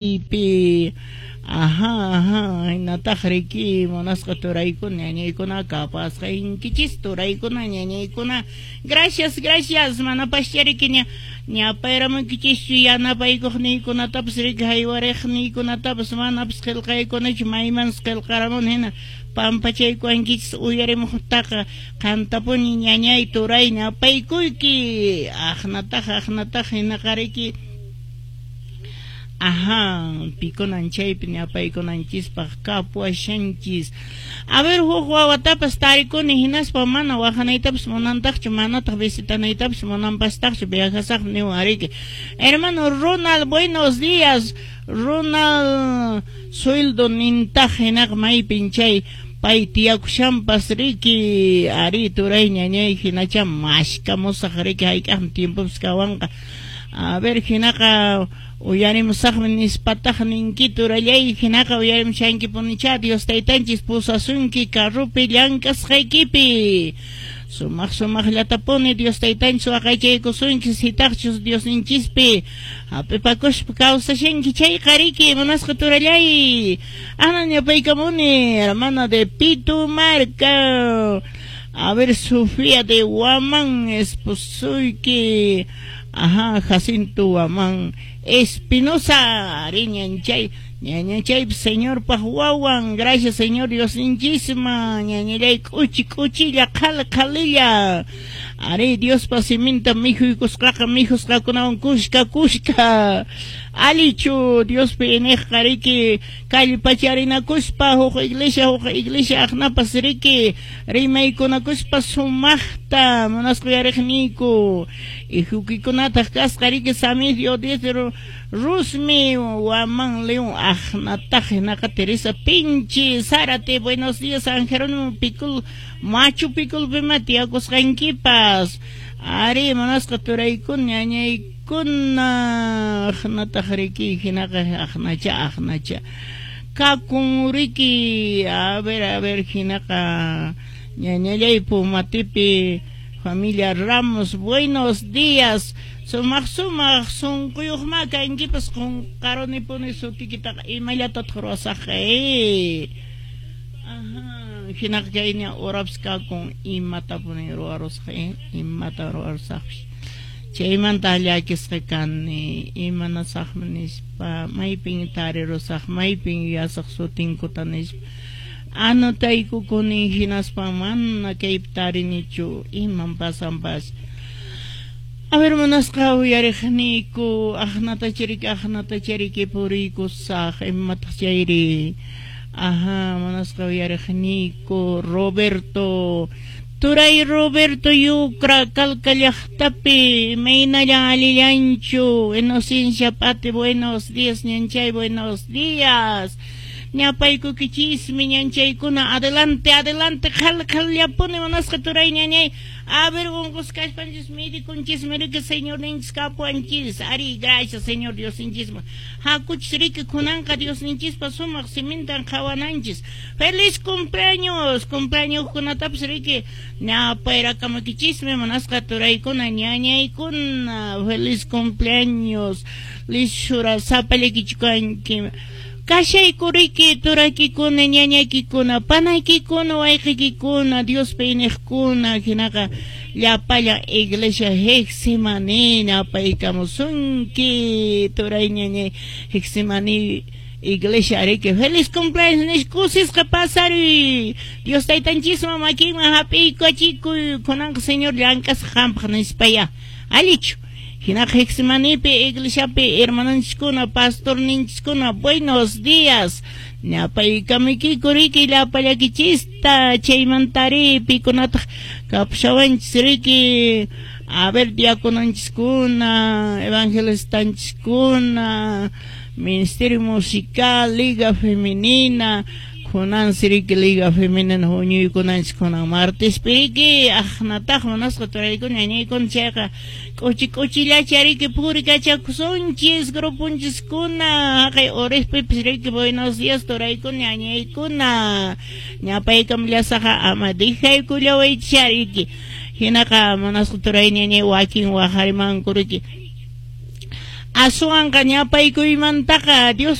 Pi ajá, ajá, hinataq riki munasqa turaykuna ñañaykuna kapasqankichis turaykuna ñañaykuna. Gracias, gracias, manapaschá riki ña ñapayramuykichischu yanapaykuqniykunatapas riki haywariqniykunatapas manapas qillqaykunachu maymansi qillqaramuni hina pampachaykuwankichis uyarimuqtaqa qantapuni ñañay turay ñapaykuyki aqnataq aqnataq hinaqa riki. Ajá, pikunan chaypi ñapaykunanchispaq kapuwashanchis. A ver, huk wawatapas tarikuni hinaspa mana waqanaytapas munantaqchu, manataq visitanaytapas munanpastaqchu, viajasaqmi niwan ariki. Hermano Ronald, buenos días. Ronald sueldo nintaq hinaqa maypin chay pay tiyakushanpas riki. Ari turay ñañay hinacha mashkamusaq riki hayk'aqmi tiempopas kawanqa. A ver, hinaqa uyarimusaqmi nispataq ninki turallay hinaqa uyarimushankipunichá Dios taytanchis pusasunki carropi llank'asqaykipi. Sumaq sumaqllatapuni Dios taytanchis waqaychaykusunki sitaqchus Diosninchispi hap'ipakuspa kawsashanki chayqa riki munasqa turallay. Ana ñapaykamuni hermana de Pitumarca. A ver, Sofía de Guamán, esposoyki. Ajá, Jacinto Guamán Espinosa, ari ñanchay, ñañachay Señorpaq wawan, gracias Señor Diosninchisman, ñañallay k'uchi k'uchilla qhal qhalilla. Ari Diospa siminta mikhuykusqaqa mikhusqakunawan kushka kushka. Alichu Diospi iñiqqa riki kallpacharinakuspa huk iglesia aqnapas riki rimaykunakuspa sumaqta munasqa uyariqniyku. Ihukikunataq kasqa riki Samidio Diez Rusmi Guamán León aqnataq hinaqa Teresa Pinchi Zárate, buenos días San Jerónimo Picul Machu Piculpima tiyakusqankipas. Ari munasqa turaykuna ñañaykuna aqnataq riki hinaqa aqnacha aqnacha kakun riki. A ver hinaqa ñañallay Pumatipi familia Ramos, buenos días. Sumaq sumaq sunquyuqma kankipas qunqarunipuni sutikitaqa imallatataq ruwasaqqa. Ajá, hinaqa kayña urapas kakun imatapuni ruwarusaq imata ruwarusaqpis. Chaymanta llakisqa kani imanasaqmi nispa maypin tarirusaq maypin yuyasaq sutinkuta nispa. Anotaykukuni hinaspa mana kaypi tarinichu iman pasanpas. A ver, munasqa uyariqniyku aqnatachariki puriykusaq imataq chayri. Ajá, munasqa uyariqniyku Roberto Turay Roberto Yucra Calca llaqtapi imaynallan allillanchu Inocencia Pati, buenos días ñanchay, buenos días. Ñapaykukichismi ñanchaykuna adelante adelante qhal qhallapuni munasqa turay ñañay. A ver, unqusqa kaspanchis medikunchismi riki Señorninchis kapuwanchis. Ari, gracias Señor Diosninchisman. Hakuchis riki kunanqa Diosninchispa sumaq simintan qhawananchis. Feliz cumpleaños, cumpleañoskunatapas riki ñapayrakamukichismi munasqa turaykuna ñañaykuna. Feliz cumpleaños. Lishura sapallaykichkanki. Kashayku riki turaykikuna ñañaykikuna panaykikuna wayqiykikuna Diospi iñiqkuna hinaqa llapallan iglesia Getsemaní ñapaykamusunki turay ñañay Getsemaní iglesia ariki feliz cumpleaños nispa kusisqa pasaruy Dios taytanchisman makinman hap'iykuachikuy kunanqa Señor llank'asqa qampaq nispaya allichu. Hinaqa Getsemanípi iglesiapi hermanonchiskuna pastorninchiskuna buenos días ñapaykamuykiku riki llapallakichista chaymantari pikunataq kapushawanchis riki a ver diacononchiskuna evangelistanchiskuna ministerio musical liga femenina kunansi riki liga femenina huñuykunanchis kunan martespi riki aqnataq munasqa turaykuna ñañaykuna chayqa k'uchi k'uchillacha riki purikachakusunchis gruponchiskuna haqay Orespipis riki buenos días turaykuna ñañaykuna ñapaykamllasaqa ama dejaykullawaychis riki hinaqa munasqa turay ñañay wakin waqarimanku riki. Aswanqa ñapaykuymantaqa Dios